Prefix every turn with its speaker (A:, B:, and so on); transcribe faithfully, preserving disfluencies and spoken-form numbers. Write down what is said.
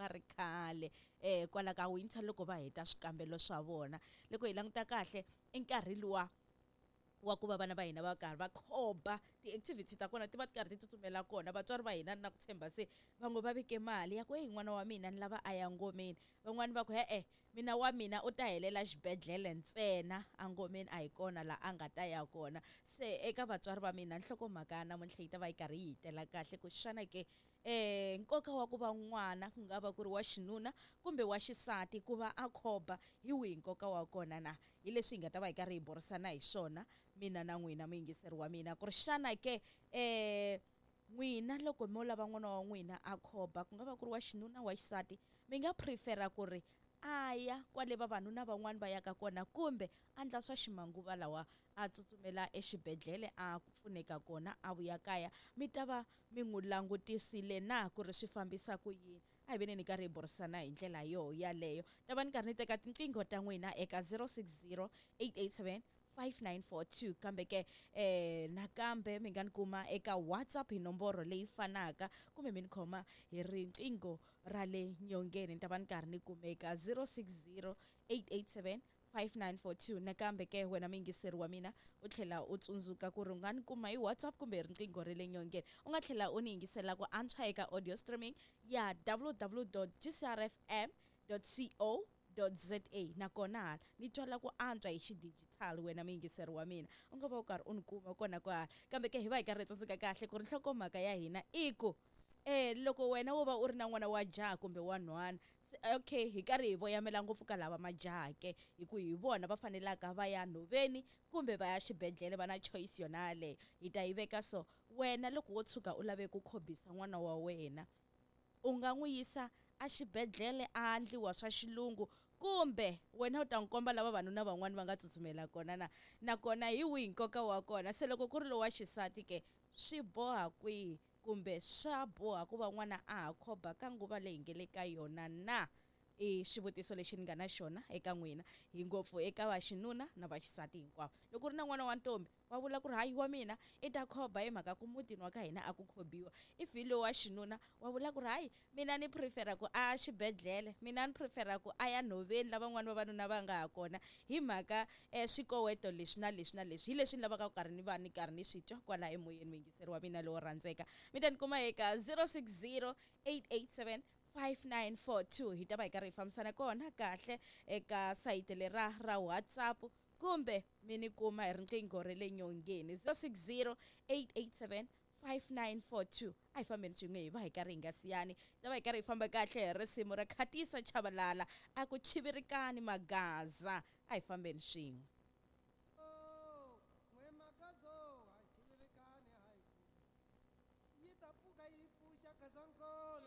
A: ri khale um kwala ka winter loko va heta swikambelo swa vona. Loko hi languta kahle i nkarhi luwa wa ku va vana va hina va karhi va khoba, ti-activity ta kona ti va ti karhi ti tsutsumela kona. Vatswari va hina na ku tshemba se van'we va veke mali ya ku heyi n'wana wa mina ni lava a ya ngomeni, van'wani va ku e-e mina wa mina u ta helela xibedhlele ntsena, a ngomeni a hi kona laha a nga ta ya kona. Se eka vatswari va mina nhlokomhaka ya namuntlha yi ta va yi karhi yi hi tela kahle ku xana ke um nkoka wa ku va n'wana ku nga va ku ri wa xinuna kumbe wa xisati ku va a khoba hi wihi nkoka wa kona na, hi leswi hi nga ta va hi karhi hi burisana hi swona mina na n'wina muyingiseri wa mina, ku ri xana ke um n'wina loko mo lava n'wana wa n'wina a khoba ku nga va ku ri wa xinuna wa xisati, mi nga prefera ku ri a ya kwale vavanuna van'wani va yaka kona kumbe a endla swa ximanguva lawa a tsutsumela exibedhlele a pfuneka kona a vuya kaya, mi ta va mi n'wi langutisile na ku ri swi fambisa ku yini? A hi veni ni karhi hi burisana hi ndlela yo yaleyo. Ta va ni karhi ni teka tinqingho ta n'wina eka zero six zero eight eight seven five nine four two, kambe ke eh nakambe mi nga ni kuma eka WhatsApp hi nomboro leyi fanaka kumbe mi ni khoma hi riqingho ra le nyongeni, ni ta va ni karhi ni kumeka zero six zero eight eight seven five nine four two. Nakambe ke wena muyingiseri wa mina u tlhela u tsundzuka ku ri u nga ni kuma hi WhatsApp kumbe hi riqingho ra le nyongeni. U nga tlhela u ni yingisela ku antswa eka audio streaming ya w w w dot g c r f m dot co dot z a, nakona hala ni twala ku antswa hi xidigitali wena muyingiseri wa mina u nga va u karhi u ni kuma kona kwahala. Kambe ke hi va hi karhi hi tsundzuka kahle ku ri nhlokomhaka ya hina i ku eh loko wena wo va u ri na n'wana wa jaha kumbe wa nhwana, okay hi karhi hi voyamela ngopfu ka lava majaha ke, hi ku hi vona va fanelaka va ya nhoveni kumbe va ya xibedhlele, va na choice yona yaleyo. Hi ta yi veka so, wena loko wo tshuka u lave ku khobisa n'wana wa wena u nga n'wi yisa a xibedhlele a endliwa swa xilungu kumbe wena u ta n'wi komba lava vavanuna van'wani va nga tsutsumela kona na, nakona hi wihi nkoka wa kona? Se loko ku ri lowa xisati ke swi boha kwihi kumbe swa boha ku va n'wana a ha khoba ka nguva leyi nge le ka yona na? I xivutiso lexi ni nga na xona eka n'wina, hi ngopfu eka vaxinuna na vaxisati hinkwavo. Loko ku ri na n'wana wa ntombi wa vula ku ri hayi wa mina i ta khoba hi mhaka ku mutini wa ka hina a ku khobiwa, if hi lowa xinuna wa vula ku ri hayi mina ni prefera ku a xibedhlele, mina ni prefera ku a ya nhoveni lavan'wana vavanuna va nga ha kona hi mhaka um swikoweto leswi na leswi na leswi. Hi leswi ni lavaka ku karhi ni va ni karhi ni swi twa kwala emoyeni muyingiseri wa mina lowo rhandzeka. Mi ta ni kuma eka zero six zero eight eight seven five nine four two, hi ta va hi karhi hi fambisana kona kahle eka sayiti lera ra WhatsApp kumbe mi ni kuma hi riqingho ra le nyongeni zero six zero eight eight seven five nine four two. A hi fambeni swin'we hi va hi karhi hi nga siyani, hi ta va hi karhi hi famba kahle hi risimu ra Khatisa Chabalala a ku chivirikani magaza. A hi fambeni swin'we.
B: Yi ta pfuka yi pfuxa Gazankulu.